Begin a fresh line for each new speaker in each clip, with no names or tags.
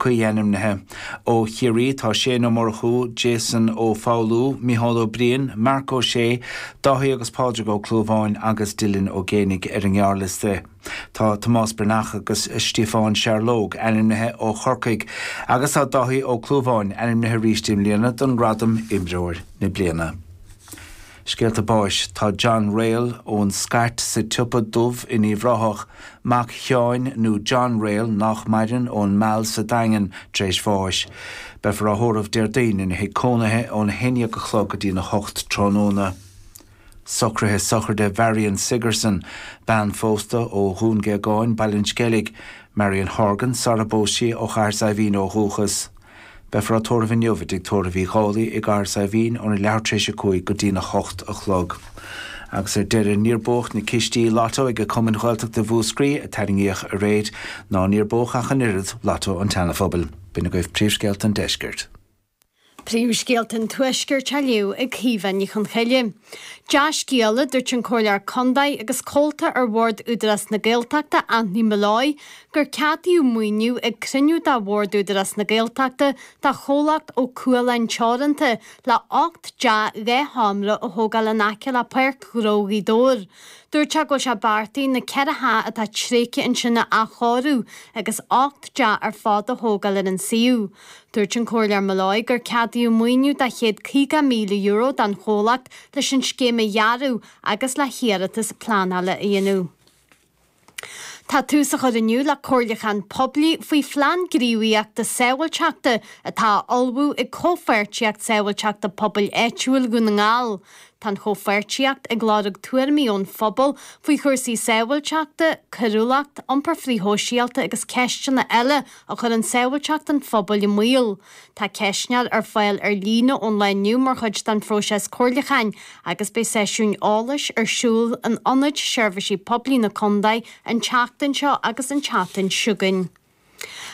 Cuí ainmnithe. Ó Chiarraí tá Shane Ó Murchú, Jason Ó Foghlú, Micheál Ó Briain, Marc Ó Sé, Dáithí agus Pádraig Ó Clúmháin agus Dylan Ó Géibheannaigh ar an ngearrliosta. Tá Tomás Breathnach agus Stiofán Searlóg ainmnithe ó Chorcaigh agus tá Dáithí Ó Clúmháin ainmnithe arís i mbliana don ghradam Imreoir na Bliana. Scéalta báis, Tá John Rayl ón Scairt sa tSiopa Dubh in Uíbh Ráthach, mac Sheáin nó John Rayl nách maireann ón Meal sa Daingean, tar éis bháis. Beifear á thórramh Déardaoin ina thigh cónaithe óna 11 a chlog go dtína 8 tráthnóna. Socruithe sochraide Mharion Sigerson, bean phósta ó Dhún Géagáin, Baile an Sceilg, Marion Horgan, sara bpós sí, ó Chathair Saidhbhín ó dhúchas. Beifear á tórramh inniu i dTigh Tórraimh Uí Dhálaigh i gCathair Saidhbhín óna leathuair tar éis a 5 go dtína 8 a chlog. Agus ar deireadh, níor buadh na cistí Lotto ag Cumainn Ghaeltachta Mhúscraí a tarraingíodh aréir, ná níor buadh ach an oiread Lotto an tSeana-Phobail. B'in agaibh príomhscéalta an deiscirt.
Príomhscéalta an Tuaiscirt á léamh ag Caoimhe Ní Chonchoille. Dea-scéala, dúirt an Comhairleoir Contae agus comhalta ar Bhord Údarás na Gaeltachta, Anthony Molloy, gur ceadaíodh maoiniú ag cruinniú de Bhord Údarás na Gaeltachta do chomhlacht Ó Cualáin Teoranta le 8 dteach 2 sheomra a thógáil in aice le Páirc Ghnó Ghaoth Dobhair. Dúirt sé go bhfuil sé beartaithe na 4 theach atá tréigthe ansin a athchóiriú agus 8 dteach ar fad a thógáil ar an suíomh. Dúirt an Comhairleoir Molloy gur ceadaíodh maoiniú de €150,000 don chomhlacht leis an scéim a dhearadh agus le hiarratas pleanála a dhéanamh. Tá tús á chur inniu le comhairliúchán poiblí faoi phlean gníomhaíochta sábháilteachta atá á ullmhú ag Comhpháirtíocht Sábháilteachta Pobail Áitiúil Dhún na nGall. Tá an chomhpháirtíocht ag lorg tuairimí ón phobal faoi chúrsaí sábháilteachta, coiriúlacht, iompar frithshóisialta agus ceisteanna eile a chuireann sábháilteacht an phobail i mbaol. Tá ceistneoir ar fáil ar líne ón lá inniu mar chuid den phróiseas comhairliúcháin agus beidh seisiúin eolais ar siúl in Ionaid Seirbhísí Poiblí na Contae an tseachtain seo agus an tseachtain seo chugainn.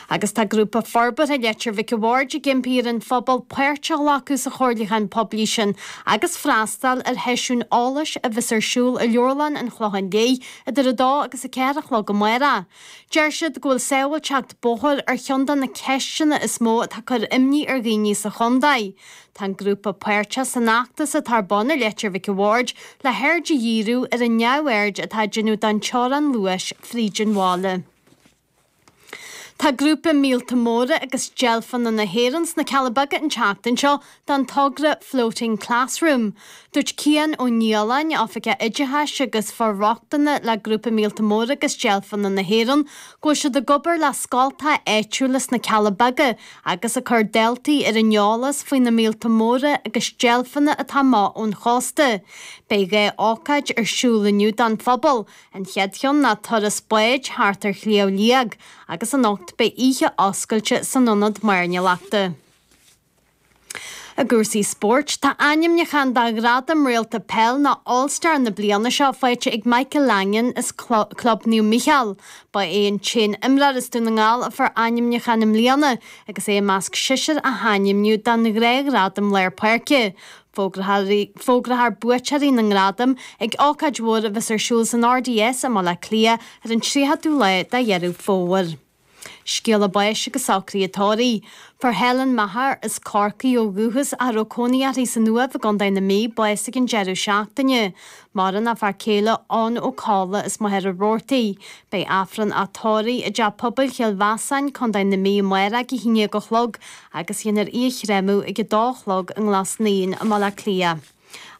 Agus tá Grúpa Forbartha Leitir Mhic a' Bhaird ag impí ar an phobal páirt a ghlacadh sa chomhairliúchán poiblí sin agus freastal ar sheisiún eolais a bheas ar siúl i Leabharlann an Chlocháin Léith idir 2 agus 4 a chlog amárach. Deir siad go bhfuil sábháilteacht bóthair ar cheann de na ceisteanna is mó atá ag cur imní ar dhaoine sa chontae. Tá an grúpa páirteach san fheachtas atá ar bun i Leitir Mhic a' Bhaird le haird a dhíriú ar an neamhaird atá á déanamh don teorainn luais fríd an bhaile. Tá grúpa Míolta Móra agus Deilfeanna na hÉireann sna Cealla Beaga an tseachtain seo don togra Floating Classroom. Dúirt Cian Ó Nialláin, Oifigeach Oideachais agus For-rochtana le Grúpa Míolta Móra agus Deilfeanna na hÉireann, go bhfuil siad ag obair le scoltacha áitiúla sna Cealla Beaga agus ag cur daltaí ar an eolas faoi na míolta móra agus deilfeanna atá amach ón chósta. Beidh 2 ócáid ar siúl inniu don phobal, an chéad cheann ná turas báid thart ar Shliabh Liag agus anocht beidh oíche oscailte san Ionad Mairnéalachta. I gcúrsaí spóirt, tá ainmniúchán do ghradam Réalta Peil nó All Star na bliana seo faighte ag Michael Langan as Club Naomh Mícheál. Ba é an t-aon imreoir as Dún na nGall a fuair ainmniúchán i mbliana agus é i measc sisir a hainmníodh don ghnáthghradam lár páirce. Fógrófar buaiteoirí na ngradam ag ócáid mhór a bheas ar siúl san RDS i mBaile Átha Cliath ar an 30ú lá de Dheireadh Fómhair. Scéala báis agus socruithe tórraimh. Fuair Helen Maher as Corcaigh ó dhúchas ach a raibh cónaí uirthi san Uaimh i gContae na Mí bás ag an deireadh seachtaine. Maireann a fear céile Eoin Ó Colla as Machaire Rabhartaigh. Beidh Aifreann a tórraimh i dTeach Pobail Chill Mheasáin, Contae na Mí amárach ag 11 a chlog agus dhéanfar í a chreimeadh ag 2 a chlog i nGlas Naíon i mBaile Átha Cliath.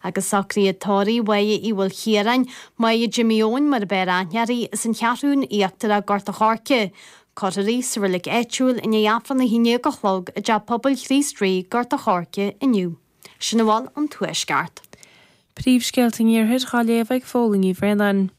Agus socruithe tórraimh Mháire Uí Mhaoilchiaráin, Máire Jimí Eoin mar ab fhearr aithne uirthi, as an Cheathrún Íochtarach, Gort a' Choirce. Cuirfear í sa reilig áitiúil i ndiaidh Aifreann a 11 a chlog i dTeach Pobail Chríost Rí, Gort a' Choirce, inniu. Sin a bhfuil ón Tuaisceart.
Príomhscéalta an Iarthair dhá léamh ag Fódhla Ní Bhraonáin.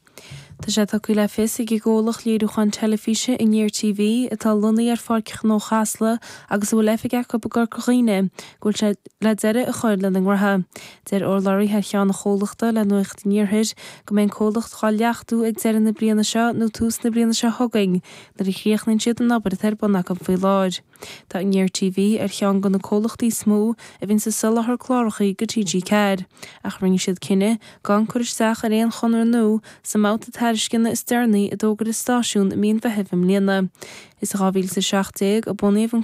Tá sé tugtha le fios ag an gcomhlacht léiriúcháin teilifíse Aniar TV, atá lonnaithe ar Pháirc Ghnó Chasla agus a bhfuil oifig acu i gCorca Dhuibhne, go bhfuil sé le deireadh a chur lena ngnótha. Deir urlabhraí thar cheann an chomhlachta le Nuacht an Iarthair go mbeidh an comhlacht dhá leachtú ag deireadh na bliana seo nó tús na bliana seo chugainn nuair a chríochnaíonn siad an obair atá ar bun acu faoi láthair. Tá Aniar TV ar cheann de na comhlachtaí is mó a bhíonns ag soláthar cláracha do TG4, ach rinne siad cinneadh gan cur isteach ar aon chonradh nua sa mbabhta. tairisceana is deireanaí a d'fhógair an stáisiún i mí an Mheithimh i mbliana. Is i 2017 a bunaíodh an.